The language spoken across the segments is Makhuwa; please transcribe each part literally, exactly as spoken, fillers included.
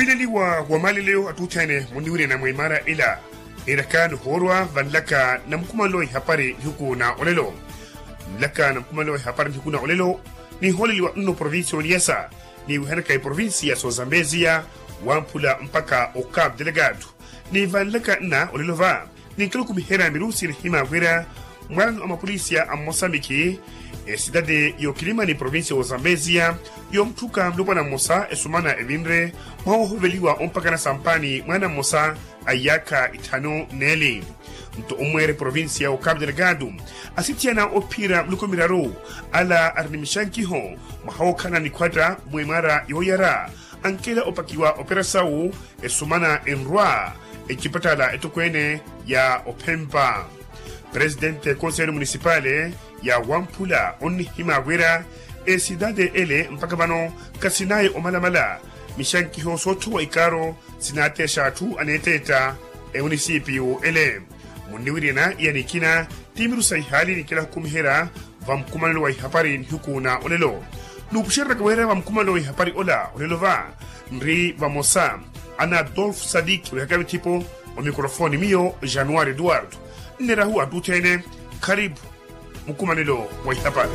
Leliwa wa maleleyo attuthene munniwirina mwa imara ila. Nirakani hoorwa vanlaka na mukumanlo wa ihapari nihuku na olelo. Nlaka na mukumanlo wa ihapari nihuku na olelo. Niholeliwa nno provincia oniyasa niwihanaka iprovincia ya sozambeziya wamphula mpaka o cap delegado. Ni vanlaka nna olelo va ninkilukumiherya mirusi nihima wira mwalano a mapolisiya a mmosambiki esitati y'okilimani provincia w'ozambeziya yomuthuka mulopwana mmosa esumana evinre mwaha ohoveliwa ompakana sampani mwaana mmosa a iyaakha itthanu n'eli. Nto omweere provincia w'okapu delegado asithiyana ophiira miluko miraru ala ari ni mixankiho mwaha wookhala nikhwatta mwemara yooyara ankela opakiwa operasawu esumana enrwa ecipattala etokweene ya ophempa. Presidente ya konselo munisipale ya wamphula onnihima wira esitati ele mpaka vano khasinaye omalamala mixankiho soothowa ikaaro sinaatexa atthu aneeteetta emunisipiyu ele. Munniwiriyana iya nikina ti mirusa ihaali nikila khukumiherya va mukumanelo wa ihapari nihuku na olelo. Nuupuxereraka wira va mukumanelo wa ihapari ola olelo va nri vamosa ana adolf sadik wihaka vithipo omikrofoni miyo januari eduardo. Nnerahu attutthene kharipu mukumanelo wa ihapari.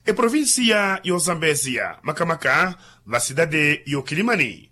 Eprovincia y'ozambeziya makamaka va sitati y'okilimani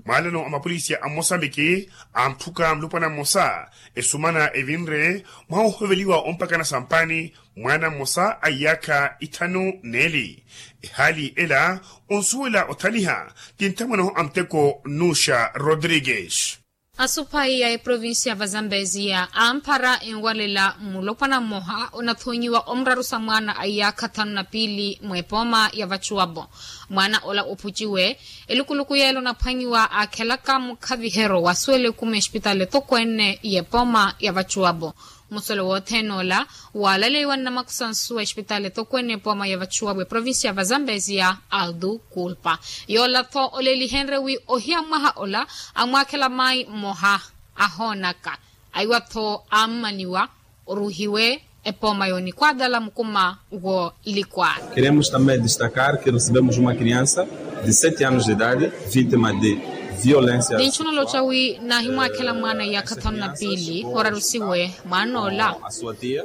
mwaalano a mapolisiya a mmosambiki antthuka mulopwana mmosa esumana evinre mwaha ohoveliwa ompakana sampani mwaana mmosa a iyaakha itthanu n'eli. Ehaali ela onsuwela othaliha ti nthamwanahu a muteko nnuxa rodrigues. Asuphayi ya eprovincia va zambeziya amphara enwalela mulopwana mmoha onathonyiwa omurarusa mwaana a iyaakha thanu na piili mwepooma ya vacuwapo. Mwaana ola ophuciwe elukuluku yeela onaphwanyiwa aakhelaka mukhavihero wasuwela ekumi espitali etokweene y'epooma ya vacuwapo. Musolo wothene ola waalaleiwa nnamakusansu a espitali etokweene epooma ya vacuwapo eprovincia va zambeziya aldu kulpa. Yoola-tho olelihenrye wi ohiya mwaha ola amwaakhela mayi mmoha ahoonaka aiwa-tho ammaniwa oruhiwe epooma yoonikwaatala mukuma woolikwaana. Queremos também destacar que recebemos uma criança de sete anos de idade vítima de violência. Ninchuna oloca wi naahimwaakhela mwaana iyaakha thanu na piili orarusiwe mwaana ola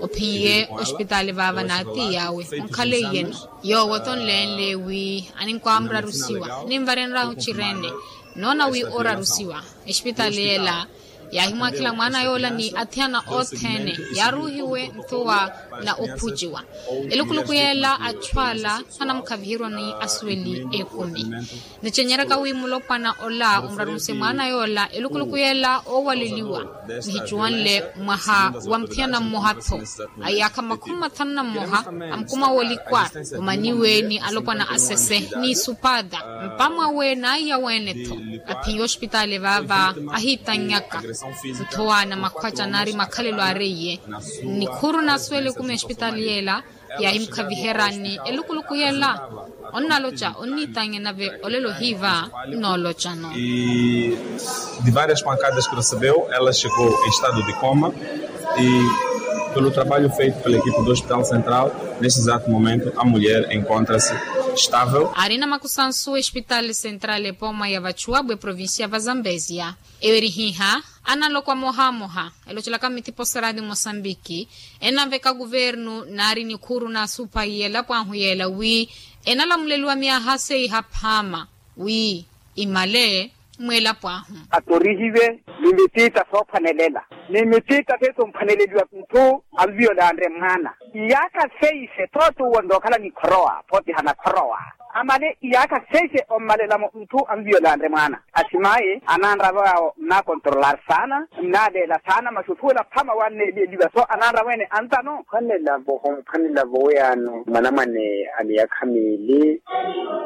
ophiye ospitaali vaava n'atiiyawe onkhaleiye-no. Yoowo-tho onleenle wi aninkwamurarusiwa ninvarenryahu ocirene noona wi orarusiwa espitaali yeela yaahimwaakhela mwaana yoola ni athiyana othene yaaruhiwe nthuwa na ophuciwa. Elukuluku yeela achu ala anamukhaviheriwa ni asuweli ekumi. Nicenyeraka wi mulopwana ola omurarunse mwaana yoola elukuluku yeela oowaleliwa nihicuwanle mwaha wa muthiyana mmoha-tho a iyaakha makhumi mathanu na mmoha a mukuma woolikwara omaniwe ni alopwana asese ni supaata mpamwawe n'aiya weene-tho. Aphiye ospitaali vaava ahiitannyaka nthowa na makhwaca naari makhalelo aareiye nikhuru naasuwela ekumi espitaali yeela yaahimukhaviherani elukuluku yeela onnaloca onniitanye nave olelo hiiva nnoolocano. De várias pancadas que recebeu ela chegou em estado de coma e pelo trabalho feito pela equipe do hospital central neste exato momento a mulher encontra-se estável. Aari namakusansu espitaali central epooma ya vachuwabu eprovincia va zambesia eyo eri hiiha analokwa mohamoha elocelaka mithipo sa radio mosambiki enaveka kuvernu naari nikhuru naasuphayi elapo ahu yeela wi enalamuleliwa myaha seiha phaama wi imale mweelapo ahu. Atorihiwe ni mitita soophanelela ni mitita seetomphwaneleliwa ntthu anviyolanre mwaana iyaakha seise tootuwo ntookhala nikhorowa pootiha nakhorowa amale iyaakha seise ommalelamo ntthu anviyolanre mwaana. Asimayi ananravo yawo nnakontrolar saana nnaleela saana masi othuwela phama wanneelieliwa so ananravo ene antano. Ophwanelavo ophwanelavo weyano mwanamwane a miyakha miili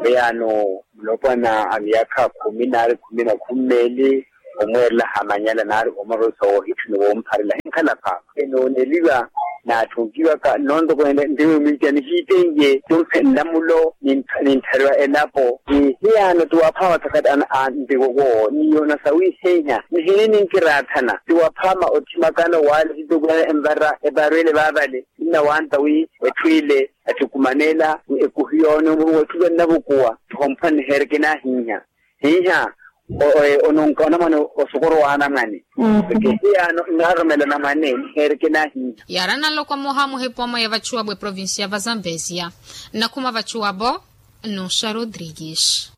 weyano mulopwana a miyakha khumi naari khumi na khumi meeli omweerela hamanyala naari omarosa woohitthuna woompharela hinkhala phaama enooneliwa. Naatthukiwaka nnontoko ntiwimwintiya nihiiteiye tumpe nlamulo ninttharewa elapo. Hiyano tiwaphaama thakati a ntiwoko niyoona sawiheiha nihini ninkiraathana tiwaphaama othimakano waale titukuya envara eparwele vaavale. Nnawantta wi etthu ile ettukumanela ekuhiyoone omuruwa etthu vannavukuwa. Tihomphwanne heereke naahiiha hiiha. Ononka onamwane osokoro wa anamwane. Kehiyaano nnaarumela anamwane niheereke naahiiha. Yaari ananloko mmoha muhipa omo ya vachuwabo eprovincia va zambezia. Nnakhuma vachuwabo nuxa rodrigues.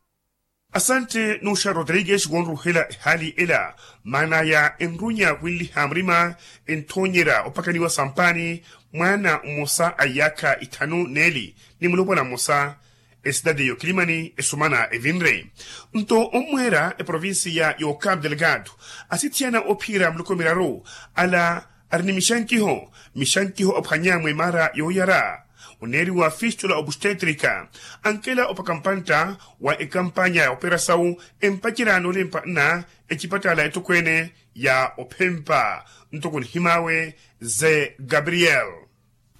Asante nuxa rodrigues wonruhela ehaali ela. Maana ya enrunya winliha murima enthoonyerya opakaniwa sampaani mwaana mmosa a iyaakha ithanu n'eli ni mulopwana mmosa. Esitati y'okilimani esumana evinre nto ommweera eprovincia y'ocapo delgado asithiyana ophiira muloko miraru. Ala ari ni mixankiho mixankiho ophwanya mwimaara yooyara oneeriwa fistula obustétrica. Ankela opaka mpantta wa ekampanya ya operasawu empacerya noolimpa nna ecipatala etokweene ya ophempa. Ntoko nihimaawe ze gabriel.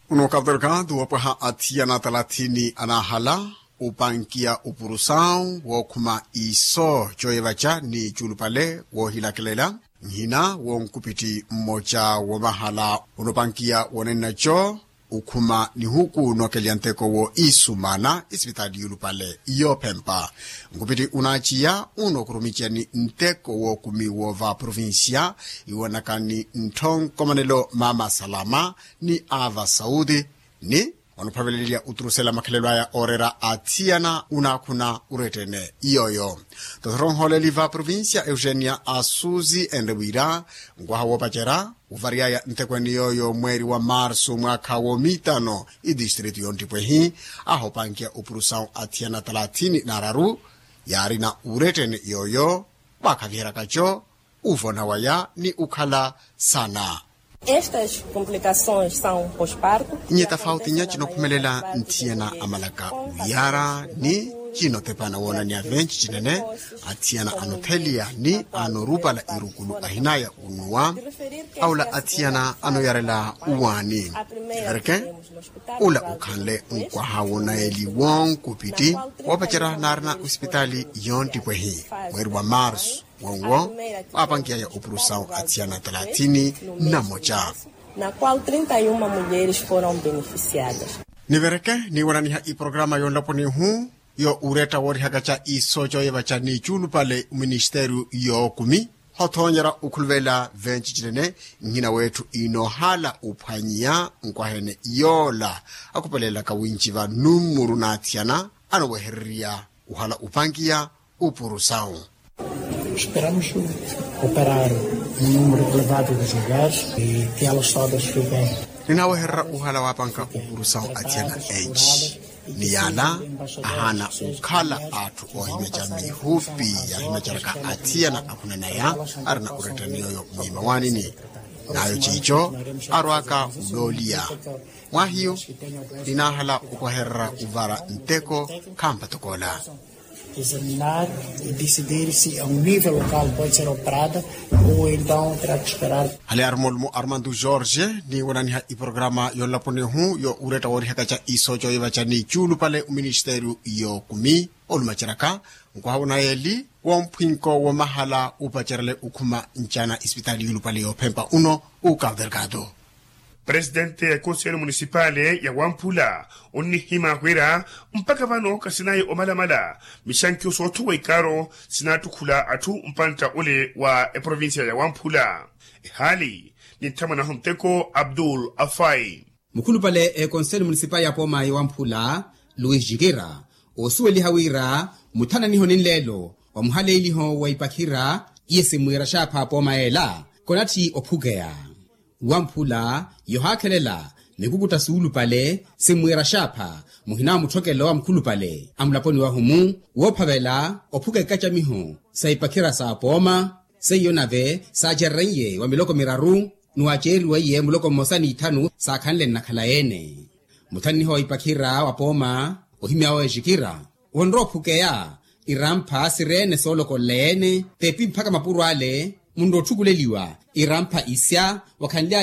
Uno katerkatu wapwaha athiyana talathini anaahala upankiya upurusawu wookhuma iso cooyevaca ni cuulupale woohilakelela. Nhina wonkupitthi mmoca womahala unopankiya wonennaco ukhuma nihuku nookelya nteko wo isumana isipitaali yuulupale yoophempa. Nkupitthi unaaciya uno khurumiceya ni nteko wookumi woova provincia iwonaka ni ntthonkhomanelo mama salama ni ava sauti ni onophaveleliya oturusela makhalelo aya ooreera athiyana unaakhuna urettene. Iyooyo tothoro nhooleli va provincia eugenia asuzi enre wira nkwaha woopacerya uvariyaya ntekweene yooyo mweeri wa marsu mwaakha woomiitano itistritu yonttipwehi ahoopankiya upurusawu athiyana talathini n'araru yaarina urettene yooyo waakhaviheryakaco uvona waya ni ukhala sana. Estas complicações são pós-parto. Nye tafauti nya cinokhumelela nthiyana amalaka uyara ni cinotepana woonaniya venci cinene athiyana anotheliya ni anorupala irukulu ahinaya unuwa aula athiyana anoyarela uwaani. Erke ula ukhanle nkwaha wonaeli wonkupiti woopacerya naarina osipitaali yonttipwehi mweeri wa marsu wonwo waapankiyaya opurusawu athiyana talathini na moca. Na qual trinta e uma mulheres foram beneficiadas. Nivereke niiwananiha iporokaramu yonlaponi ihu yo uretta woorihakaca iso cooyevaca ni cuulupale muministeriyo yookumi hothoonyerya okhuluvela venci cinene. Nhina wetthu inoohala uphwanyiya nkwaha ene yoola akhupelela kawinciva nummuru n'athiyana anowehererya uhala upankiya upurusawu. Esperamos operar um número elevado de lugares e que elas todas fiquem. Ninaawehererya uhala waapanka upurusawu athiyana enci ni yaala ahaana okhala atthu oohimeca mihupi yaahimeceraka athiyana akhunanaya arina urettani yooyo mwiimawanini. Nayo ciico arwaka ulooliya mwahiyu ninaahala okwahererya uvara nteko khampa tokoola. Examinar e decidir se a um nível local pode ser operada ou então terá que esperar. Hale armolmo armando jorge niiwananiha iporokaramu yonlaponi ihu yo uretta woorihakaca iso cooyevaca ni cuulupale oministeriyo yookumi olumaceraka nkwaha wonayeeli womphwinko womahala upacerele ukhuma ncana isipitaali yuulupale yoophempa uno. Ukaverkatu presidente ya ekonselo munisipale ya wamphula onnihima wira mpakha vano khasinayi omalamala mixankiho soothowa ikaaro sinaattukhula atthu mpantta ole wa eprovincia ya wamphula. Ehaali ninthamwanahu nteko abdul afai. Mukhulupale ekonselo munisipale ya pooma ya wamphula luis jikira oosuweliha wira muthananiho ni nleelo wa muhaleeliho wa ipakhira iye simwiira xaapha pooma yeela konatthi ophukeya wamphula yohaakhelela mikukutta suulupale simwiira xaapha muhina wa mutthokelo wa mukhulupale a mulaponi wahumu woophavela ophuka ikacamiho sa ipakhira sa pooma seiyo nave saacerereiye wa miloko miraru ni waaceeriweiye muloko mmosa ni ithanu saakhanle nnakhala yeene. Muthanniho wa ipakhira wa pooma ohimyawe exikira wonrowa ophukeya irampha sireene soolokolela yeene teepi mpakha mapuro ale munrowa otthukuleliwa irampha isya wakhanly'aya